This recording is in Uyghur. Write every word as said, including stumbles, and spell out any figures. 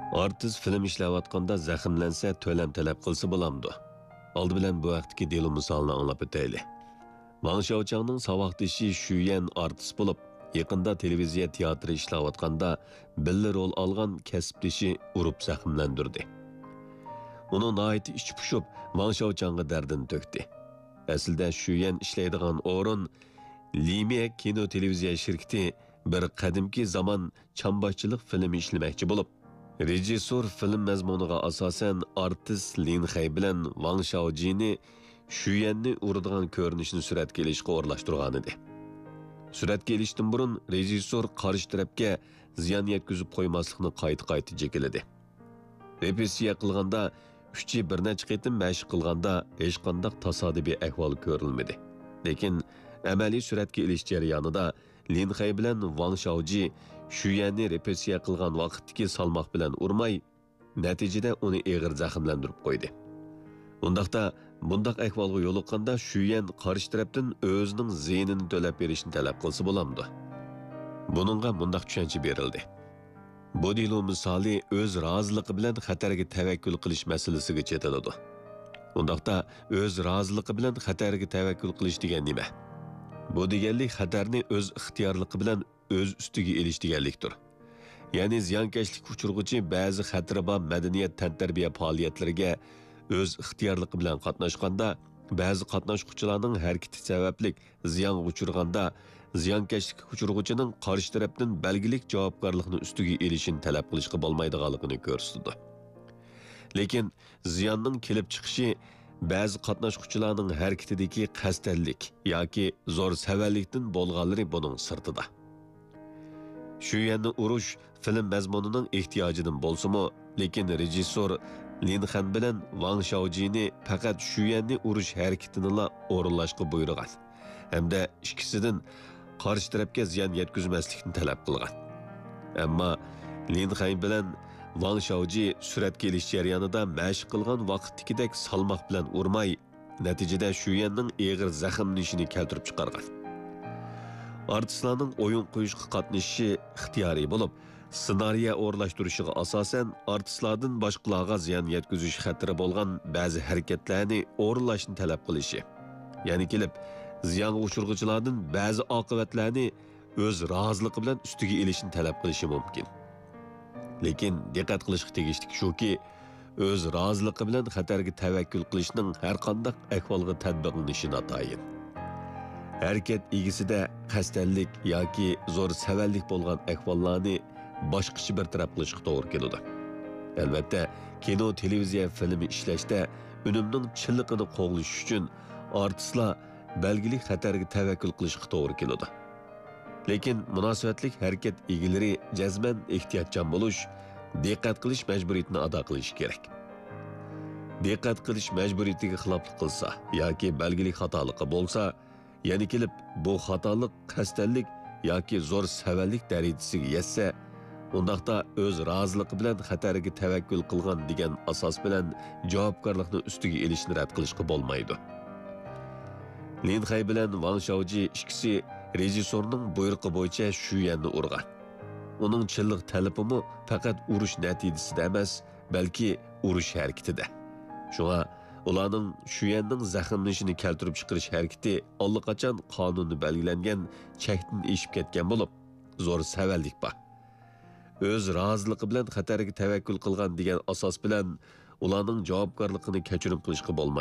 ئارتىس فىلىم ئىشلەۋاتقاندا زەخىملەنسە تۆلەم تەلەپ قىلسا بولامدۇ؟ ئالدى بىلەن بۇ ھەقتىكى دېلو مىسالىنى ئاڭلاپ ئۆتەيلى. ۋاڭ شياۋچاڭنىڭ ساۋاقدىشى شۈيەن ئارتىس بولۇپ، يېقىندا تېلېۋىزىيە تىياتىرى ئىشلەۋاتقاندا بىللە رول ئالغان كەسىپدىشى ئۇرۇپ زەخىملەندۈردى. ئۇنىڭ ناھايىتى ئىچى پۇشۇپ، ۋاڭ شياۋچاڭغا دەردىنى تۆكتى. ئەسلىدە شۈيەن ئىشلەيدىغان ئورۇن لىميە كىنو تېلېۋىزىيە شىركىتى بىر قەدىمكى زامان چامباشچىلىق فىلىمى ئىشلىمەكچى بولۇپ، رېژىسسور فىلىم مەزمۇنىغا ئاساسەن ئارتىس لىن خەي بىلەن ۋاڭ شياۋجىنى شۈيەننى ئۇرىدىغان كۆرۈنۈشنى سۈرەتكە ئېلىشقا ئورۇنلاشتۇرغانىدى. سۈرەتكە ئېلىشتىن بۇرۇن رېژىسسور قارشى تەرەپكە زىيان يەتكۈزۈپ قويماسلىقنى قايتا-قايتا جېكىلىدى. رېپېتىتسىيە قىلغاندا ئۈچى بىر نەچچە قېتىم مەشىق قىلغاندا ھېچقانداق تاسادىپىي ئەھۋال كۆرۈلمىدى. لېكىن ئەمەلىي سۈرەتكە ئېلىش جەريانىدا لىن خەي بىلەن ۋاڭ شياۋجى شۈيەننى رېپېتىتسىيە قىلغان ۋاقىتتىكى سالماق بىلەن ئۇرماي، نەتىجىدە ئۇنى ئېغىر زەخىملەندۈرۈپ قويدى. ئۇنداقتا، بۇنداق ئەھۋالغا يولۇققاندا شۈيەن قارشى تەرەپتىن ئۆزىنىڭ زىيىنىنى تۆلەپ بېرىشنى تەلەپ قىلسا بولامدۇ؟ بۇنىڭغا مۇنداق چۈشەنچە بېرىلدى. بۇ دېلو مىسالى ئۆز رازىلىقى بىلەن خەتەرگە تەۋەككۈل قىلىش مەسىلىسىگە چېتىلىدۇ. ئۇنداقتا، ئۆز رازىلىقى بىلەن خەتەرگە تەۋەككۈل قىلىش دېگەن نېمە؟ بۇ دېگەنلىك خەتەرنى ئۆز ئىختىيارلىقى بىلەن ئۆز ئۈستىگە ئېلىش دېگەنلىكتۇر. يەنى زىيانكەشلىككە ئۇچرىغۇچى بەزى خەتىرى بار مەدەنىيەت تەنتەربىيە پائالىيەتلىرىگە ئۆز ئىختىيارلىقى بىلەن قاتناشقاندا، بەزى قاتناشقۇچىلارنىڭ ھەرىكىتى سەۋەبلىك زىيانغا ئۇچرىغاندا، زىيانكەشلىككە ئۇچرىغۇچىنىڭ قارشى تەرەپتىن بەلگىلىك جاۋابكارلىقنى ئۈستىگە ئېلىشىنى تەلەپ قىلىشقا بولمايدىغانلىقىنى كۆرسىتىدۇ. لېكىن زىياننىڭ كېلىپ چىقىشى بەزى قاتناشقۇچىلارنىڭ ھەرىكىتىدىكى قەستەنلىك ياكى زور سەۋەنلىكتىن بولغانلىرى بۇنىڭ سىرتىدا. شۈيەننى ئۇرۇش فىلىم مەزمۇنىنىڭ ئېھتىياجىدىن بولسىمۇ، لېكىن رېژىسسور لىن خەن بىلەن ۋاڭ شياۋجىنى پەقەت شۈيەننى ئۇرۇش ھەرىكىتىنىلا ئورۇنلاشقا بۇيرۇغان ھەمدە ئىككىسىدىن قارشى تەرەپكە زىيان يەتكۈزمەسلىكنى تەلەپ قىلغان. ئەمما لىن خەي بىلەن ۋاڭ شياۋجى سۈرەتكە ئېلىش جەريانىدا مەشىق قىلغان ۋاقىتتىكىدەك سالماق بىلەن ئۇرماي، نەتىجىدە شۈيەننىڭ ئېغىر زەخىملىنىشىنى كەلتۈرۈپ چىقارغان. ئارتىسلارنىڭ ئويۇن قويۇشقا قاتنىشىشى ئىختىيارىي بولۇپ، سېنارىيە ئورۇنلاشتۇرۇشىغا ئاساسەن، ئارتىسلاردىن باشقىلارغا زىيان يەتكۈزۈش خەتىرى بولغان بەزى ھەرىكەتلەرنى ئورۇنلاشنى تەلەپ قىلىشى، يەنە كېلىپ زىيانغا ئۇچرىغۇچىلاردىن بەزى ئاقىۋەتلەرنى ئۆز رازىلىقى بىلەن ئۈستىگە ئېلىشنى تەلەپ قىلىشى مۇمكىن. لېكىن دىققەت قىلىشقا تېگىشلىك شۇكى، ئۆز رازىلىقى بىلەن خەتەرگە تەۋەككۈل قىلىشنىڭ ھەرقانداق ئەھۋالغا تەتبىقلىنىشى ناتايىن. ھەرىكەت ئىگىسىدە قەستەنلىك ياكى زور سەۋەنلىك بولغان ئەھۋاللارنى باشقىچە بىر تەرەپ قىلىشقا توغرا كېلىدۇ. ئەلۋەتتە، كىنو، تېلېۋىزىيە فىلىمى ئىشلەشتە ئۈنۈمنىڭ چىنلىقىنى قوغلىشىش ئۈچۈن ئارتىسلار بەلگىلىك خەتەرگە تەۋەككۈل قىلىشقا توغرا كېلىدۇ. لېكىن مۇناسىۋەتلىك ھەرىكەت ئىگىلىرى جەزمەن ئېھتىياتچان بولۇش، دىققەت قىلىش مەجبۇرىيىتىنى ئادا قىلىشى كېرەك. دىققەت قىلىش مەجبۇرىيىتىگە خىلاپلىق قىلسا ياكى بەلگىلىك خاتالىقى بولسا، يەنە كېلىپ بۇ خاتالىق قەستەنلىك ياكى زور سەۋەنلىك دەرىجىسىگە يەتسە، ئۇنداقتا ئۆز رازىلىقى بىلەن خەتەرگە تەۋەككۈل قىلغان دېگەن ئاساس بىلەن جاۋابكارلىقنى ئۈستىگە ئېلىشنى رەت قىلىشقا بولمايدۇ. لىن خەي بىلەن ۋاڭ شياۋجى ئىككىسى رېژىسسورنىڭ بۇيرۇقى بويىچە شۈيەننى ئۇرغان. ئۇنىڭ چىنلىق تەلىپىمۇ پەقەت ئۇرۇش نەتىجىسىدە ئەمەس، بەلكى ئۇرۇش ھەرىكىتىدە. شۇڭا ئۇلارنىڭ شۈيەننىڭ زەخىملىنىشىنى كەلتۈرۈپ چىقىرىش ھەرىكىتى ئاللىقاچان قانۇندا بەلگىلەنگەن چەكتىن ئېشىپ كەتكەن بولۇپ، زور سەۋەنلىك بار. ئۆز رازىلىقى بىلەن خەتەرگە تەۋەككۈل قىلغان دېگەن ئاساس بىلەن ئۇلارنىڭ جاۋابكارلىقىنى كەچۈرۈم قىلىشقا بولمايدۇ.